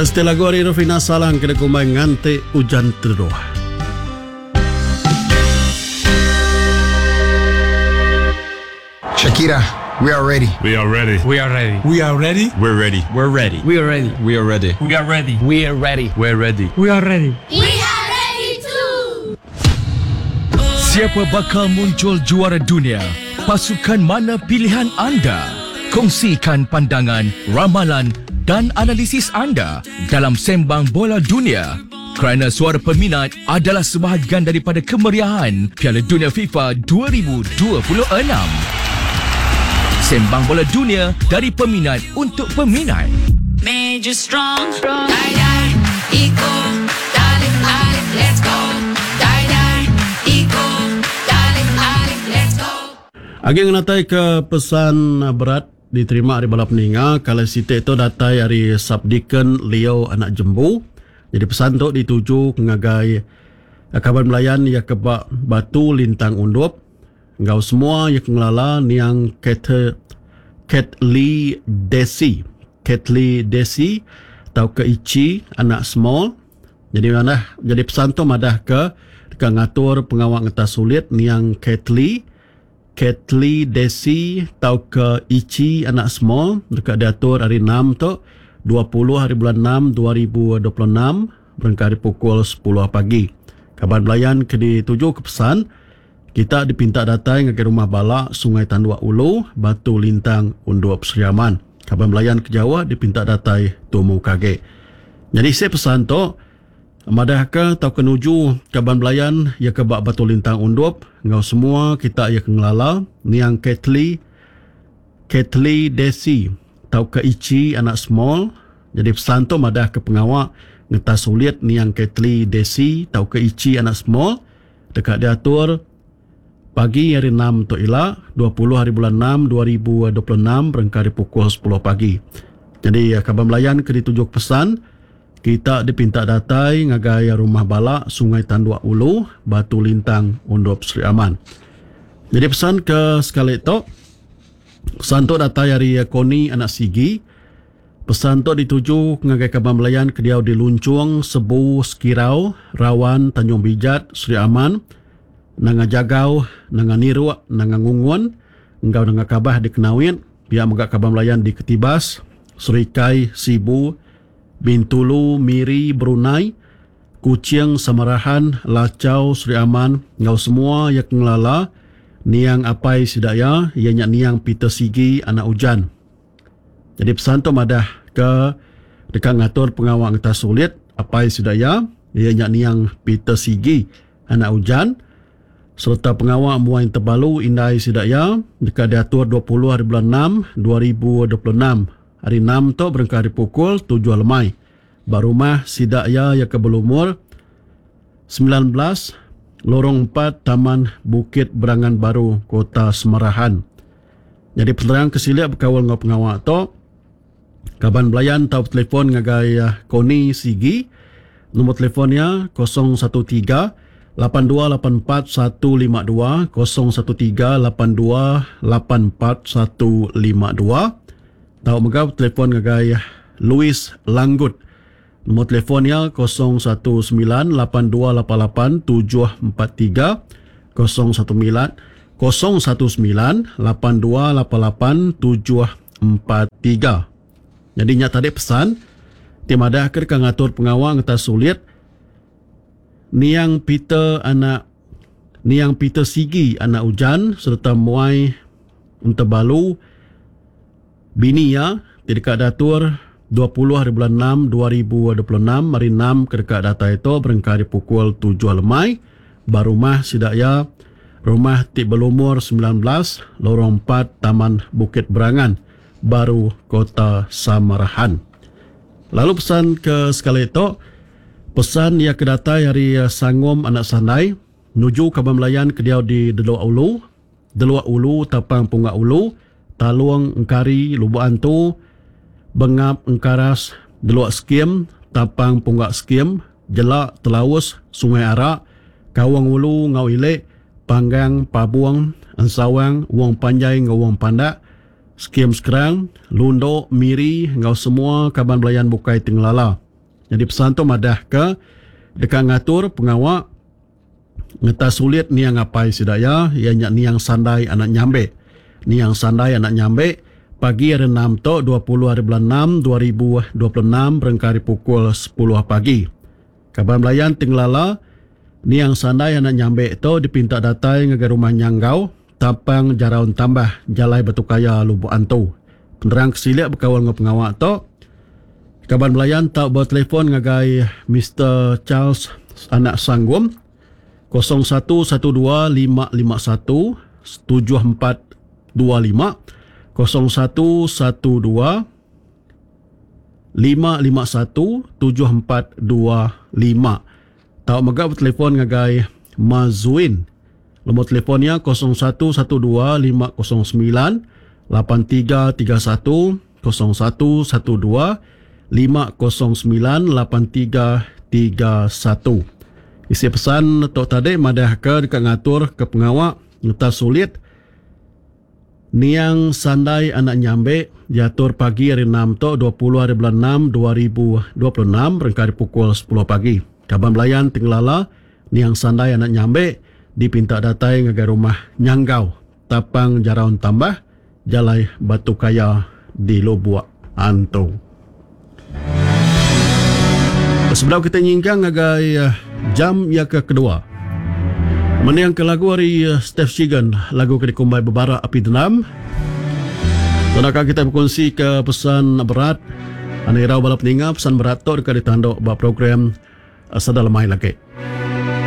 Siti lagu ari Rufina Salang ke dikumbai Nganti Ujan Teduh. Shakira, we are ready. We are ready. We are ready. We are ready. We're ready. We're ready. We are ready. We are ready. We are ready. We are ready. We're ready. We are ready. We are ready too. Siapa bakal muncul juara dunia? Pasukan mana pilihan anda? Kongsikan pandangan, ramalan dan analisis anda dalam Sembang Bola Dunia. Kerana suara peminat adalah sebahagian daripada kemeriahan Piala Dunia FIFA 2026. Sembang Bola Dunia dari peminat untuk peminat. Made you strong. Die, die, eco, darling, darling, let's go. Die, die, eco, darling, darling, let's go. Agi ngenatai ke pesan berat diterima ari bala peninga kala siti tu datai ari Subdeacon Leo Anak Jembu. Jadi pesan tu dituju ngagai kaban belayan iya ke ba Batu Lintang Undup enggau semua iya ke ngelala niang Kate Ketly Desi Ketly Desi tauka Ichi anak Small. Jadi madah jadi pesan tu madah ke deka ngatur pengawa ngetas ulit niang Ketly Ketly Desi tauka Ichi anak Small deka diatur hari Enam tu, 20 haribulan Enam 2026 berengkah ari pukul sepuluh pagi. Kaban belayan ke ditujuka pesan, kita dipinta datai ngagai Rumah Bala, Sungai Tanduk Ulu, Batu Lintang, Undup Sri Aman. Kaban belayan ke jauh dipinta datai tumu ke agi. Nyadi isi pesan tu, Madahka tauka nuju kaban belayan iya ke ba Batu Lintang Undup enggau semua kita iya ke ngelala niang Ketly Ketly Desi tauka Ichi anak Small jadi pesan tu madahka pengawa ngetas ulit niang Ketly Desi tauka Ichi anak Small deka diatur pagi hari Enam tu ila 20 hari bulan Enam 2026 berengkah ari pukul sepuluh pagi. Jadi kaban belayan ke dituju pesan Kita dipinta datai ngagai Rumah Bala, Sungai Tanduk Ulu, Batu Lintang, Undup Sri Aman. Nyadi pesan ke sekali tu, pesan tu datai ari Koni anak Sigi. Pesan tu dituju ngagai kaban belayan ke diau di Lunchung, Sebu, Sekirau, Rawan, Tanjung Bijat, Sri Aman, Nanga Jagau, Nanga Niruk, Nanga Ngungun enggau Nanga Kabah di Kenawit, pia mega kaban belayan di Ketibas, Serikai, Sibu, Bintulu, Miri, Brunei, Kuching, Samarahan, Lachau, Sri Aman enggau semua iya ke ngelala niang apai sida iya, iya nya niang Peter Sigi anak Ujan. Nyadi pesan tu madah ke deka ngatur pengawa ngetas ulit apai sida iya, iya nya niang Peter Sigi anak Ujan sereta pengawa muai tebalu indai sida iya deka diatur 20 hari bulan enam 2026. Hari Enam tu berengkah ari pukul tujuh lemai ba rumah sida iya iya ke belumur 19 Lorong 4 Taman Bukit Berangan Baru Kota Semarahan. Nyadi penerang ke silik bekaul enggau pengawa tu, kaban belayan tau betelefon ngagai Connie Sigi nombor telefon iya 013 8284 152 013 8284 152. Tau mega betelefon ngagai Louis Langgut. Nombor telefon iya 019 8288 743 019 019 8288 743. Nyadi nya tadi pesan ti madahka deka ngatur pengawa ngetas sulit Niang Peter anak Niang Peter Sigi anak Ujan sereta muai Entebalu bini iya ti deka diatur 20 hari bulan enam 2026 hari enam ke deka datai tu berengkah ari pukul tujuh lemai ba rumah sida iya rumah ti belumur 19 Lorong 4 Taman Bukit Berangan Baru Kota Samarahan. Lalu pesan ke sekali tu pesan iya ke datai ari Sangom anak Sandai nuju kaban belayan ke diau di Delok Ulu, Delok Ulu Tapang Punga Ulu, Talong Engkari Lubok Antu, Bengap Engkaras Delok Skim, Tapang Pungga Skim, Jela Telaus Sungai Ara, Kaung Ulu enggau Ili, Panggang Pabong, Ensawang, Wong Panjai enggau Wong Pandak, Skim Skrang, Lundu, Miri enggau semua kaban belayan bukai ti ngelala. Nyadi pesan tu madahka deka ngatur pengawa ngetas ulit niang apai sida iya, iya nya niang Sandai anak Nyambek. Niang Sandai anak Nyambek pagi hari enam tu 20 hari bulan enam 2026 berengkah ari pukul sepuluh pagi. Kaban belayan ti ngelala niang Sandai anak Nyambek tu dipinta datai ngagai rumah Nyanggau, Tapang Jarau Entambah, Jalai Batu Kaya, Lubok Antu. Penerang ke silik bekaul enggau pengawa tu, kaban belayan tau betelefon ngagai Mister Charles anak Sanggum 0112 551 7425, 0112 551 7425. Tau mega betelefon ngagai Mazuin. Nombor telefon iya 0112 509 8331, 0112 509 8331. Isi pesan tu tadi madahka deka ngatur ke pengawa ngetas sulit Niang Sandai anak Nyambek diatur pagi hari enam tu 20 hari bulan enam 2026 berengkah ari pukul sepuluh pagi. Kaban belayan ti ngelala Niang Sandai anak Nyambek dipinta datai ngagai rumah Nyanggau, Tapang Jarau Entambah, Jalai Batu Kaya di Lubok Antu. Sebedau kita nyingkang ngagai jam iya ke kedua. Mending ke lagu ari Steph Chigan, lagu ke dikumbai Bebara Api Dendam. Tandaka kita bekunsi ke pesan berat. Anu irau bala peninga pesan berat tu deka ditandu ba program Sada Lemai lagi.